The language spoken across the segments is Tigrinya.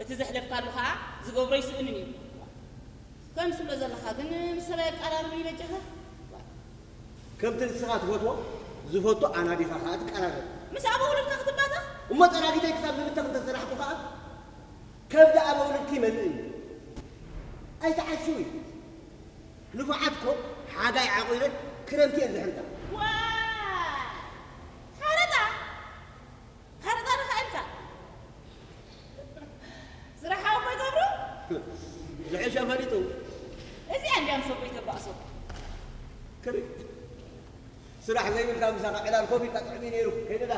እቲ ዘሕለፍካሉ ኸዓ ዝገብሮ ይስእንን እዩ። ከም ትብሎ ዘለኻ ግን ምስ ሰብኣይ ኣቀራርብ ይበጃኻ። ከምቲ ንስኻ ትፈትዎ ዝፈቱ ኣናዲኻ ኸዓ ትቀራረብ። ምስ ኣበ ውሉድካ ክትባተኽ? እሞ ጠራጊተይ ክሳብ ዝብተኽ እንተሰራሕኩ ኸዓ ከብዲ ኣበ ውሉድኪ ይመልእ እዩ። ኣይትዓሽዊ። ንፉዓት እኮ ሓጋይ ዓቑረን ክረምቲ እየን ዝሕርጣ። ዋይ! ሓረጣ? ሓረጣ ርኻ ኢልካ? ስራሕ ሓወቦይ ገብሩ? ዝሕሸ ፈሊጡ። እዚኣ እንድያ ምስ ኣቦይ ተባእሶ። ክሪ። ስራሕ ዘይብልካ ምሳኻ ዕላል ኮፍ ኢልካ ጥዑም እዩ ነይሩ። ከይደዳ።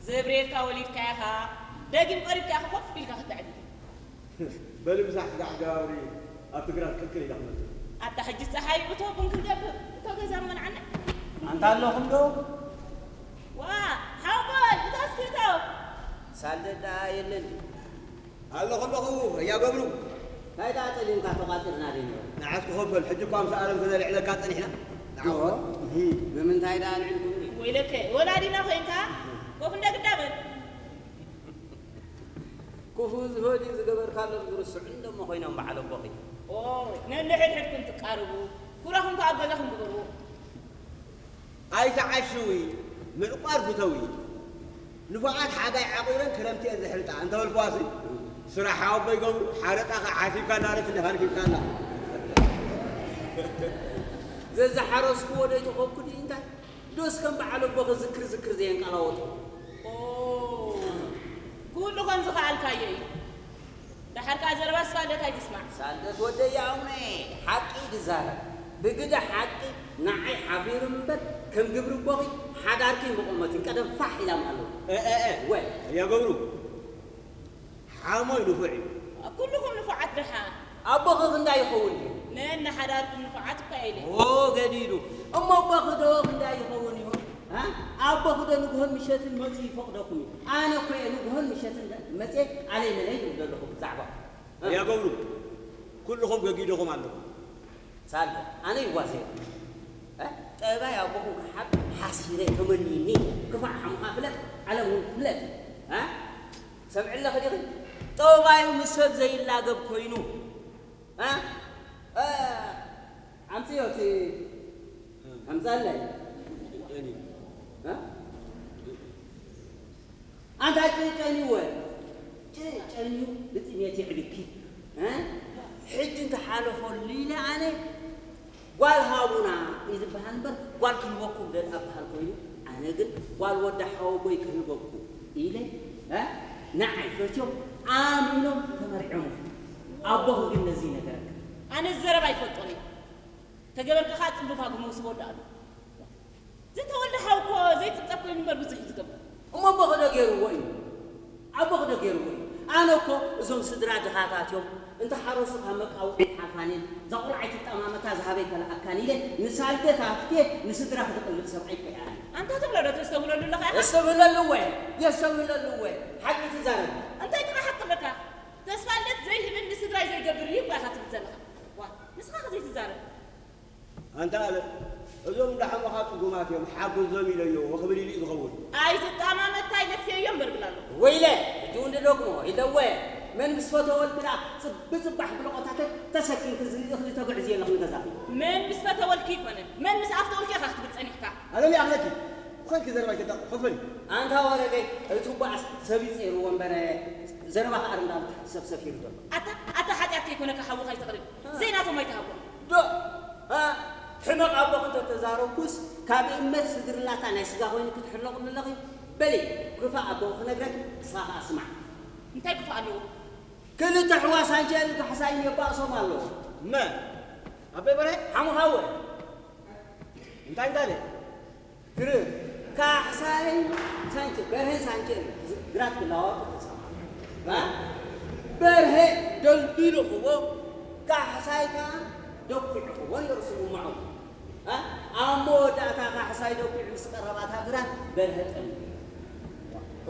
ዘብርየልካ ወሊድካ ኢኻ። ደጊም ቀሪብካ ኢኻ ኮፍ ኢልካ ክትዕቢ። በሊ ምሳሕ ስራሕ ገብሪ ኣብ ትግራት ቅልቅል ኢላ ክመጽእ። ኣታ ሕጂ ጸሓይ እቶ ቡን ክንገብር እቶ ገዛ መንዓና። ኣንታ ኣለኹም ዶ? ዋ፣ ሓወቦይ፣ እታ እስክሪቶ። ሳልደት ደኣ የለን። ኣለኹ ኣለኹ፣ እያ ገብሩ። እንታይ ደኣ ጠሊምካ ተቋጺርና ደይንበል? ንዓት ክኸፈል፣ ሕጂ እኳ ምስ ኣለም ተዘልዕለካ ጸኒሕና። ንዓው። እህ። ንምንታይ ደኣ ኣልዒልኩምኒ? ወይለከ፣ ወላዲና ኮይንካ፣ ኮፍ እንደ ግዳ በል። ክፉእ ዝፈድዩ ዝገበርካሎም ዝርስዑ እንደሞ ኮይኖም በዓል ኣቦኺ። ኦ፣ ነንሕድሕድኩም ትቃረቡ፣ ኩራኹም ከኣ ኣብ ገዛኹም ግበርዎ። ኣይትዓሽዊ፣ ምዕቋር ፍተዊ። ንፉዓት ሓጋይ ዓቑረን ክረምቲ እየን ዝሕርጣ እንተበልኩዋሲ፣ ስራሕ ኣቦይ ገብሩ፣ ሓረጣ ከኣ ሓሲብካ እንዳለት እንዲኻ ረኪብካላ። ዘዝሓረስኩዎ ዶ ይተኸብኩ ድዩ እንታይ? ዶስ ከም በዓል ኣቦኺ ዝክር ዝክር ዘየንቀላወጡ? ኦ፣ ኩሉ ከም ዝኸኣልካዮ እዩ። ደሓር ከኣ ዘረባ ሳልደት ኣይትስማዕ። ሳልደት ወደይ ኣቡነ ሓቂ ድዛረብ። ብግደ ሓቂ ንዓይ ሓፊሩ እምበር ከም ግብሪ ኣቦኺ ሓዳርኪ ምቖመትን ቀደም ፋሕ ኢላ ምሃለወት። እ፣ እ፣ እ። ወይ። እያ ገብሩ። ሓሞይ ንፉዕ እዩ። ኩልኹም ንፉዓት ደሓን። ኣቦኺ ክንዳይ ይኸውን እዩ? ነን ንሓዳርኩም ንፉዓት እኳ ኢለ። ኦ፣ ገዲዱ። እሞ ኣቦኺ ዶ ክንዳይ ይኸውን እዩ? እ? ኣቦኺ ዶ ንግሆን ምሸትን መጺኡ ይፈቕደኩም እዩ? ኣነ እኮ እየ ንግሆን ምሸትን መጺኤ ኣለይ መለይ ዝብል ዘለኹ ብዛዕባ። እ? እያ ገብሩ፣ ኩልኹም ገጊድኹም ኣለኹም። ሳልደ፣ ኣነ ይዋዘ። እ? ጠባይ ኣቦኹም ክሓብ ሓሲረ ተመኒኒ። ክፋእ ሓሙኻ ፍለጥ፣ ዓለም እውን ፍለጥ። እ? ሰምዒ ኣለኺ ዲኺ? ጠባዩ ምስ ሰብ ዘይላገብ ኮይኑ። እ? እ? ኣምፅዮ እቲ ኣምፃለይ። ጨኒ። እ? ኣንታ ጭጨኒወ። ጭጨኒዩ ብጥሜት የዕብኪ። እ? ሕጂ እንተሓለፈሉ ኢለ ኣነ ጓል ሃቡና እዩ ዝበሃል እምበር ጓል ክህበኩም ደል ኣበሃል ኮይኑ ኣነ ግን ጓል ወዲ ሓወቦይ ክህበኩም ኢለ፣ እ? ንዓይ ፈትዮም ኣሚኖም ተመርዖም። ኣቦኹ ግን ነዚ ይነገረካ። ኣነ ዘረባ ኣይፈልጦን እየ። ተገበርካ ከዓ ጽቡብ ሃጉ መውስቦ ወዲ ኣሉ። ዝተወልደ ሓው እኮ ዘይጽብጸብ ኮይኑ እምበር ብዙሕ እዩ ዝገብር። እሞ ኣቦኺ ዶ ገይርዎ እዩ? ኣቦኺ ዶ ገይርዎ እዩ? ኣነ እኮ እዞም ስድራ ድኻታት እዮም። እንተ ሓረሱ ካብ መቃውዒ ሓፋኔን፣ እዛ ቁልዓ ኣይትጠማመታ ዝሃበይ ከለኣካን ኢለ ንሳልደት ኣፍትየ ንስድራ ክትቕልብ ሰብኣይ እኮ እየ ኣነ። ኣንታ ትብሎ ዶ ተስተብህለሉ ኣለኻ ኢኻ? የስተብህለሉ እወ፣ የስተብህለሉ እወ። ሓቂ ትዛረብ። እንታይ ጥራሕ ሓቂ ኣለካ? ተስፋልደት ዘይህብን ንስድራይ ዘይገብር እዩ እኮ ኢኻ ትብል ዘለኻ። ዋ፣ ንስኻ ከ ዘይትዛረብ? ኣንታ ኣለ፣ እዞም እንዳሓመኻ ጽጉማት እዮም፣ ሓግዞም ኢለዮ፣ ወኽብል ኢሉ እዩ ዝኸውን። ኣይትጣማመት፣ እንታይ ለፍየዮ እምበር ብላ ኣሎ። ወይለ፣ ሕጂ እውን ድደግሞ፣ ኢለወ፣ መን ምስ ፈተወልኪ ደኣ ጽቢ ጽባሕ ብለቖታተት ተሰኪምኪ ዝንእኽሊ ተጉዕዚ ኣለኺ ንገዛኺ። መን ምስ ፈተወልኪ ኣይኮነን፣ መን ምስ ኣፍተወልኪ ኢኻ ክትብል ጸኒሕካ። ኣለም ይኣኽለኪ፣ ብኸልኪ ዘረባ ኣይተጣቕዑ፣ ከፈኒ። ኣንታ ወረገይ፣ እቲ ባእስ ሰብ ይጸይርዎ እምበር፣ ዘረባ ከኣ እንዳበልካ ሰብ ሰፊሩ ዘሎ። ኣታ፣ ኣታ ሓጢኣት ከይኮነካ ሓውኻ ኣይተቕርብ። ዘይናቶም ኣይትሃቦም። ዶ፣ እ፣ ሕመቕ ኣቦኺ እንተተዛረብኩስ፣ ካብ እመት ስድርላታ ናይ ስጋ ኮይኑ ክትሕለቑኒ ኣለኺ? በሊ፣ ክፋእ ኣቦኺ ክነግረኪ፣ ንስኻ ከኣ ስማዕ። እንታይ ክፋእ ኣለዎ? ክልተ ኣሕዋት ሳንቸልን ካሕሳይን የባእሶም ኣለዉ። መን? ኣቦይ በርሀ? ሓሙኻ እወ። እንታይ እንዳለ? ግርም። ካሕሳይን ሳንቸ-፣ በርሀን ሳንቸልን ግራት ክላዋወጡ ተሰማሙ። እ? በርሀ ደልዲሉ ክቦ፣ ካሕሳይ ከኣ ደኲዑ ክቦ ነይሩ ስምምዖም። እ? ኣብ መወዳእታ ካሕሳይ ደኲዑ ምስ ቀረባታ ግራት በርሀ ጠሊሙ።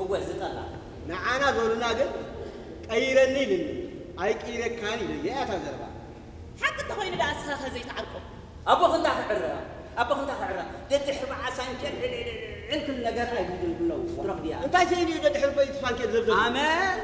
እወ፣ ዝጠላ። ንዓና ዞሉና ግን ቀይረኒ ኢልኒ፣ ኣይቅይረካን ኢለዮ እያ እታ ዘረባ። ሓቂ እንተኾይኑ ደኣ እስኻ ከ ዘይትዓርቆ? ኣቦኺ እንዳ ክዕረ፣ ኣቦኺ እንዳ ክዕረ፣ ደድሕሪ በዓል ሳንቸል ዕልዕልዕልዕል ክብል ነገር ኣይግድን ክለው ትረኽብያ። እንታይ ስኢኑ እዩ ደድሕሪ በይት ሳንቸል ዘብዘብ? ኣመል